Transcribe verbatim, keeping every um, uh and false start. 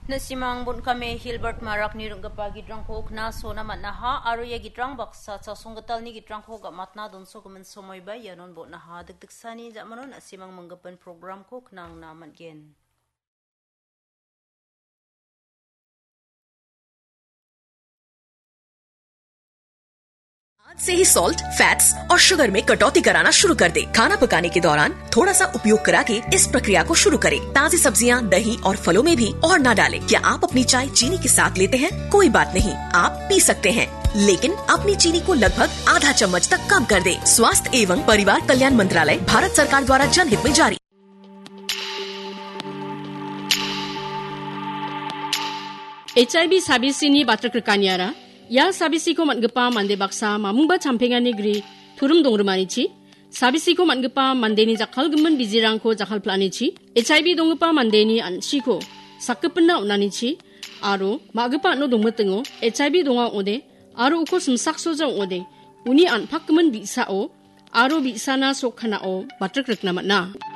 Nasimang bon·kame Hilbert Marakni ring·gipa gitrangko knasona man·aha aro ia gitrang baksa chasonggitalni gitrangko gamatna donsogimin somoiba ianon bon·aha. Dikdiksani ja·manon nasimang manggipin programko knangna man·gen. आज से ही salt, fats और शुगर में कटौती कराना शुरू कर दे। खाना पकाने के दौरान थोड़ा सा उपयोग करा के इस प्रक्रिया को शुरू करें। ताजी सब्जियां, दही और फलों में भी और ना डालें। क्या आप अपनी चाय चीनी के साथ लेते हैं? कोई बात नहीं, आप पी सकते हैं, लेकिन अपनी चीनी को लगभग आधा चम्मच तक कम कर दें। स्वास्थ्य एवं परिवार कल्याण मंत्रालय, भारत सरकार द्वारा जनहित में जारी। H I V sabisini batrikrikaniara, ia sabisiko man·gipa mande baksa mamungba champengani gri turum dongrimanichi, sabisiko man·gipa mandeni jakkalgimin bijirangko jakkalpla·anichi, H I V donggipa mandeni an·chiko sakgipinna on·anichi, aro ma·gipa an·o dongmitingo H I V donga ong·ode, aro uko simsaksoja ong·ode, uni an·pakgimin bi·sao aro bi·sana sok kanao batrikrikna man·a.